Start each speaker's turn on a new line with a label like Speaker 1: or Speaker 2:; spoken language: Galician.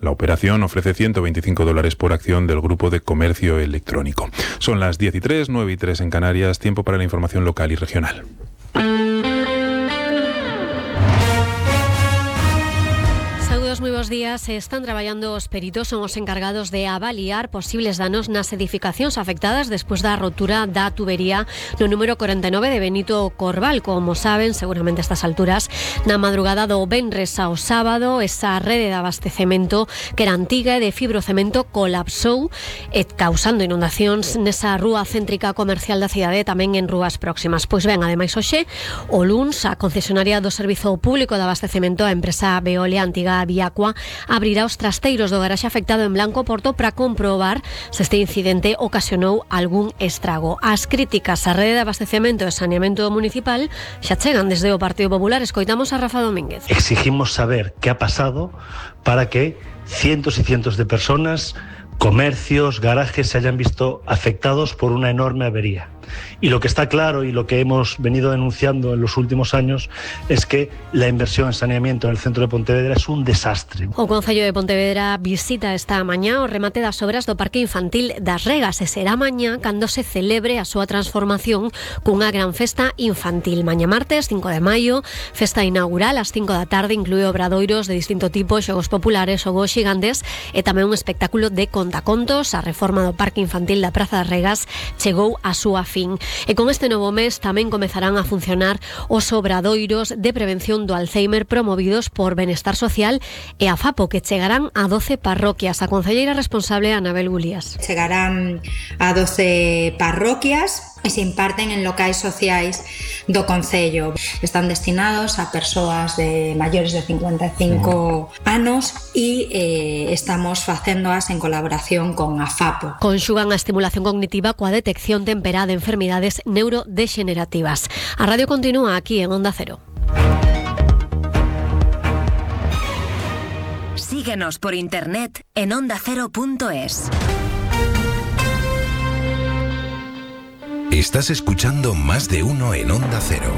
Speaker 1: La operación ofrece $125 por acción del grupo de comercio electrónico. Son las 10:03, 9:03 en Canarias, tiempo para la información local y regional.
Speaker 2: Moi bons días. Están traballando os peritos, son os encargados de avaliar posibles danos nas edificacións afectadas despois da rotura da tubería no número 49 de Benito Corval. Como saben, seguramente a estas alturas, na madrugada do venres ao sábado, esa rede de abastecemento que era antiga e de fibrocemento colapsou, causando inundacións nesa rúa céntrica comercial da cidade e tamén en rúas próximas. Pois ben, ademais hoxe, o luns, a concesionaria do Servizo Público de Abastecemento, a empresa Veolia Antiga Viacua, abrirá os trasteiros do garaxe afectado en Blanco Porto para comprobar se este incidente ocasionou algún estrago. As críticas á rede de abastecemento e saneamento municipal xa chegan desde o Partido Popular. Escoitamos a Rafa Domínguez.
Speaker 3: Exigimos saber qué ha pasado para que cientos y cientos de personas, comercios, garajes se hayan visto afectados por una enorme avería. Y lo que está claro y lo que hemos venido denunciando en los últimos años es que la inversión en saneamiento en el centro de Pontevedra es un desastre.
Speaker 2: O Concello de Pontevedra visita esta mañá o remate das obras do Parque Infantil das Regas e será mañá cando se celebre a súa transformación cunha gran festa infantil. Mañá martes, 5 de maio, festa inaugural ás 5 da tarde, inclúe obradoiros de distinto tipo, xogos populares, xogos xigantes e tamén un espectáculo de contacontos. A reforma do Parque Infantil da Praza das Regas chegou a súa fin. E con este novo mes tamén comezarán a funcionar os obradoiros de prevención do Alzheimer promovidos por Benestar Social e a FAPO, que chegarán a 12 parroquias. A concelleira responsable, Anabel Gulías.
Speaker 4: Chegarán a 12 parroquias e se imparten en locais sociais do Concello. Están destinados a persoas de maiores de 55 anos e estamos facéndoas en colaboración con a FAPO.
Speaker 2: Conxugan a estimulación cognitiva coa detección temperá de enfermidades neurodegenerativas. A radio continúa aquí en Onda Cero.
Speaker 5: Síguenos por internet en ondacero.es.
Speaker 6: Estás escuchando Más de Uno en Onda Cero.